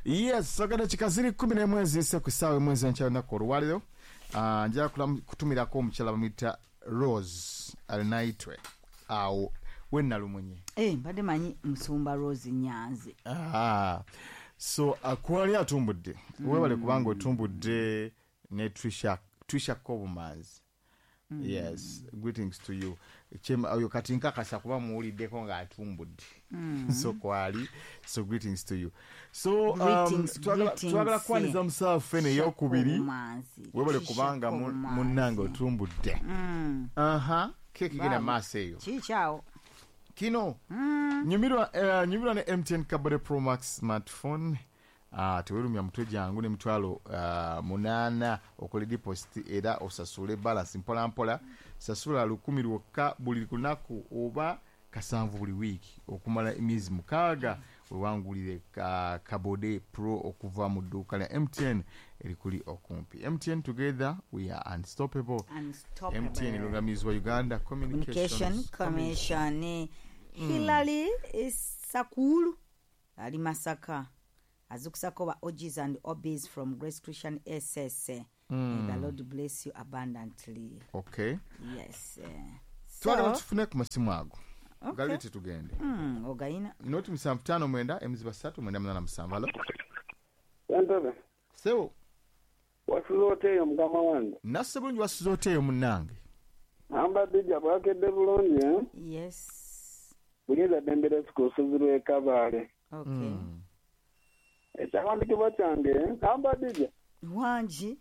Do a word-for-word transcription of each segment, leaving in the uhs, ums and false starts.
Yes, ogenda kikaziri kumi n'emu eziyise ku ssaawa emu ez'enkya olunaku olwaleero. Ah, njagala kulamu- kutumirako omukyala bamuyita Rose Alinaitwe awo wenalumunye. Eh, mbadde manyi musumba Rose Nyanzi. Ah, so uh, kwali atumbudde, webale kubanga otumbudde ne Trisha, Trisha Kobumanzi. Yes, greetings to you. Chema oyo kati nkakasa kuba muwuliddeko ng'atumbudde. So kwali, so greetings to you. So um, Greetings, twagala greetings. twagala kwaniriza musawo ffene eyokubiri. Kobumanzi. Webale Trisha kubanga mu- Kobumanzi. munnange otumbudde. Mm. Aha, keki genda Baba. maaso eyo. Kikyawo. Kino nyumirwa eh, nyumirwa ne M T N Kabore Pro Max smartphone. Uh, tewerumya mutwe, jangu n'emitwalo uh, munaana okole deposit era osasule balance mpola mpola. Sasula lukumi lwokka buli lunaku oba kasanvu buli wiiki okumala emyezi mukaaga, wewangulire ka Kabode Pro okuva mu dduuka lya M T N erikuli okumpi. M T N, together we are unstoppable. Unstoppable. M T N erungamizibwa Uganda Communication Communications Commission. Hilary Sakulu ali Masaka, azukusako ba O Gs and O Bs from Grace Christian S S. May the Lord bless you abundantly. Okay. Yes, eh. Twagala So, tufune ku masimu ago. Okay. Galeete tugende. mm, ogayina Noti musanvu ttaano mwenda emiziba ssatu mwenda munaana musanvu. Alo. Entebe. Sebo. Wasuze oteeyo, mukama wange? Nasse bulungi, wasuze oteeyo, munnange? Amba Dijja, bwakedde bulungi, eh? Yes. Buyinza ddembe ku lusozi lw'e Kabaale. Okay. Mm. Ekyawandiikibwa kyange, amba Dijja. Wangi.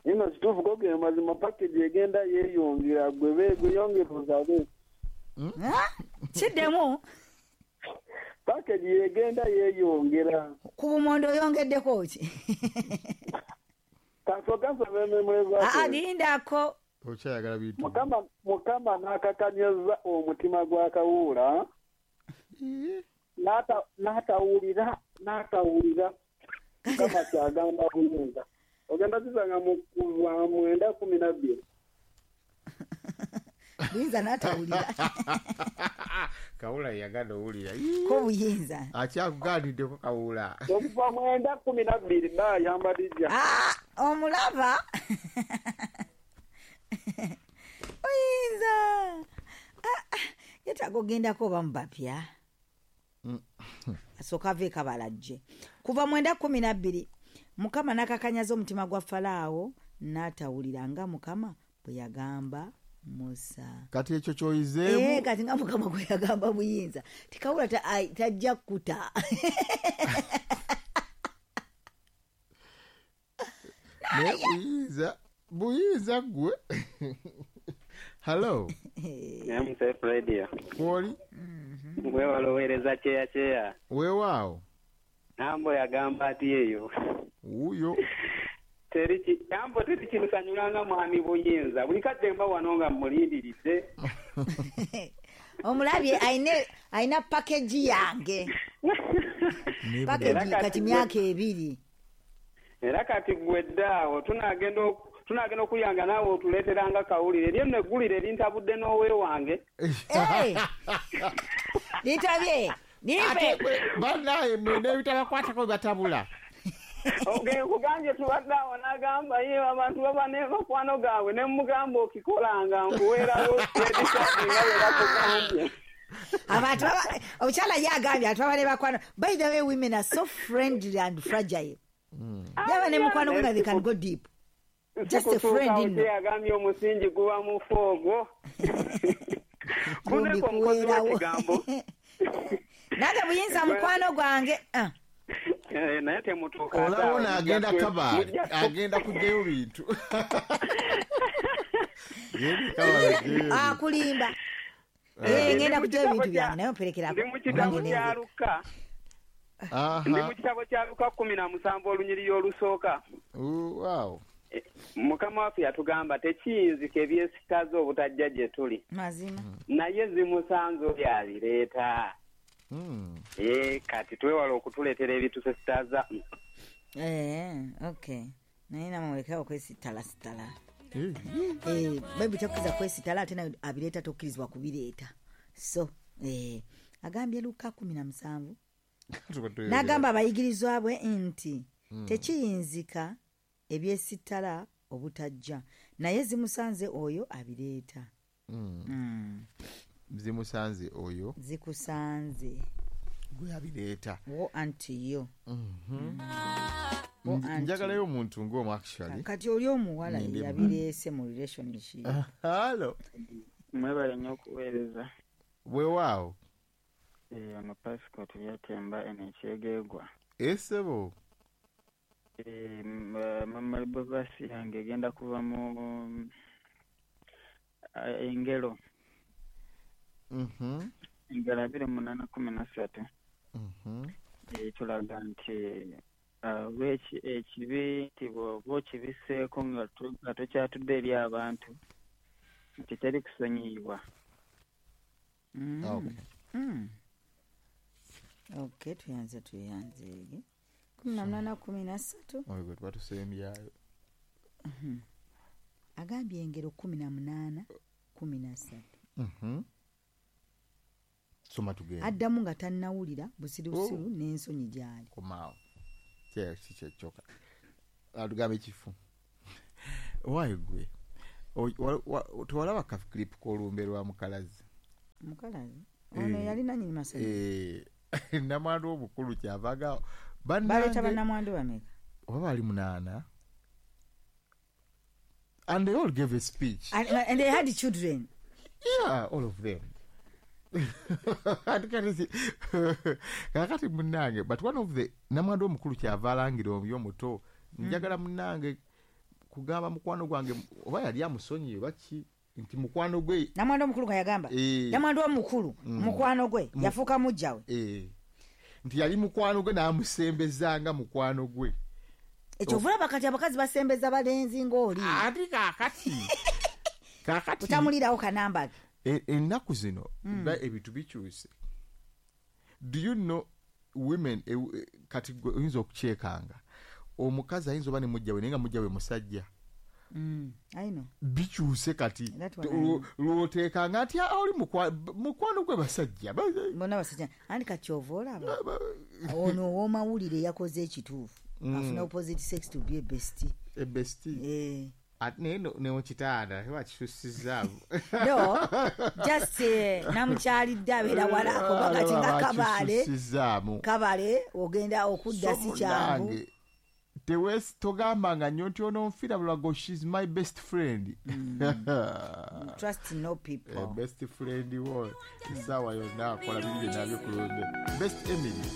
Ino kituufu ko ge mazima, package egenda yeeyongera, gwe be gweyongera osabe. Ah, kiddemu. Package yegenda yeeyongera. Ku bumondo oyongeddeko ki? Kasooka nsome ememule. Aa, lindako. Okyayagala bintu. Mukama Mukama n'akakanyaza omutima gwa Kawuula n'ata- n'atawulira n'atawulira Mukama kyagamba buyinza. Ogenda kisanga mu kuva mwenda kumi na bbiri. Buyinza n'atawulira. Kawula yagala owulira. Ko buyinza. Akyakugaaniddeko Kawula. Okuva mwenda kumi na bbiri baayamba Dijja. Ah, omulaba oyinza. Ah, ah, yetaaga ogendako oba mubapya asooka ava ekabalajje. Kuva mwenda kumi nabbiri, Mukama n'akakanyaza omutima gwa Falaawo n'atawulira nga Mukama bwe yagamba Musa. Kati ekyo Eh, kyoyizeemu. Kati nga Mukama bwe yagamba buyinza tikawula ta- ai, tajja kuta. Naye buyinza, buyinza gwe, hallo. M C F Radio. Kwoli. Mwewala oweereza kyeya kyeya. Weewaawo. Nambo yagamba ati eyo. Wuuyo. Teri ki- Nambo, teri kinsanyulanga mwami Buyinza. Buli kadde mba wano nga mmulindiridde. Omulabye ayina- ayina package yange. Era Package kati kati gwe- myaka ebiri. Era kati gwe ddaawo tunaagenda oku- tunaagenda okuyanga naawe otuleeteranga kawulire. Eryo nno eggulire lintabudde n'owe wange. Eh, litabye limpe. Banaye mwena ebitabakwatako batabula. Okay, nkugambye tubadde awo n'agamba ye abantu baba ne bakwano gaabwe ne mugamba okikolanga nkuweerawo credit card nga bwe bakugambye. Abantu baba- omukyala ye agambye abantu baba ne bakwano. By the way, women are so friendly and fragile. Yaba ne mukwano gwe nga they can go deep. Just a friend Sikutuukawo nno. Kyeyagambye omusingi guba mufu ogwo. Kumbi Kuneko omukozi kuweerawo. w'ekigambo. Nange Buyinza mukwano gwange. Ah. Eh, naye temutuuka. Olaba ono agenda Kabaale, agenda kugyayo bintu. Genda Kabaale, genda. Akulimba. Eh, ngenda kugyayo ebintu byange naye omperekerako. Ndi mu kitabo Nange kya nenze. Luka. Aha. Ndi mu kitabo kya Luka kumi na musanvu olunyiriri olusooka. Ooh, wow. Eh, Mukama waffe yatugamba tekiyinzika ebyesitaza obutajja gye tuli, Mazima. naye zimusanze oyo abireeta. Mm. Eh, kati twewala okutuleetera ebitusesitaza. Eh, okay, naye namulekawo kwesitalasitala. Eh. Eh, bayibuli tekkiriza kwesitala, ate naye abireeta tokkirizibwa kubireeta. So eh, agambye Luka kumi na musanvu N'agamba abayigirizwa bwe nti tekiyinzika ebyesittala obutajja, naye zimusanze oyo abireeta. Mm. Zimusanze oyo zikusanze gwe abireeta. Woe unto you. Njagalayo omuntu ng'omu actually. Kati oli omuwala yabireese mu relationship. Hello. Mwebale nnyo okuweereza. Weewaawo. Eh, ono passport yatemba eno ekyegeegwa. Esebo. Eh, mama bavasi yange egenda kuva mu engero. Mhm. Engero abiri munaana kumi na ssatu. Mhm. Etulaga nti lweki ekibi nti bw'oba okibiseeko nga tokyatudde eri abantu nti teri kusonyiyibwa. Okay. Mm. Okay, tuyanze tuyanzeege. Kumi na munaana kumi na ssatu. Oyo gwe tubatusembyayo. Agambye engero kumi na munaana kumi na ssatu. Mhm. Soma tugende. Addamu nga tannawulira busirusiru n'ensonyi gy'ali. Komaawo. Kyekyoka. Atugambe ekifu. Waayo gwe. Tewalaba ka clip k'olumbe lwa Mukalazi. Mukalazi? Ono yali nannyini masomero. Eh, namwandu omukulu kyavaga. Baleeta bannamwandu bameka? Oba baali munaana. And they all gave a speech. And, and they had children. Yeah, all of them. Kakati munnange, but one of the namwandu omukulu kyava alangira oyo omuto, njagala munnange kugamba mukwano gwange oba yali amusonyiye baki nti mukwano gwe. Namwandu omukulu nga yagamba. Namwandu omukulu mukwano gwe yafuuka mujja we. Eh. Nti yali mukwano gwe n'amusembezanga mukwano gwe. Ekyo ovulaba kati abakazi basembeza balenzi ng'oli. Ate kaakati. Kaakati. Otamulirawo kanamba ke. Ennaku zino ebintu bikyuse. Do you know women kati oyinza okukyekanga omukazi ayinza oba ne mujja we naye nga mujja we musajja. Mm, I know. Bikyuse kati lwoteekanga nti oli mukwano gwe basajja. Bonna basajja. Anti kati ky'ova olaba ono ow'omawulire yakoze ekituufu. Afuna opposite sex to be a bestie. A bestie. Eh. Ate naye newekitaanda bakisusizaamu. No, just namukyalidde abeera wala kuba kati nga kabaale. Kabaale ogenda okudda si kyangu. Togambanga nnyo nti ono nfiira bulago, she's my best friend. Mm. Trust no people. Eh, best friend wo essaawa yonna akola bingi nabyo ku lunde. Best Emily.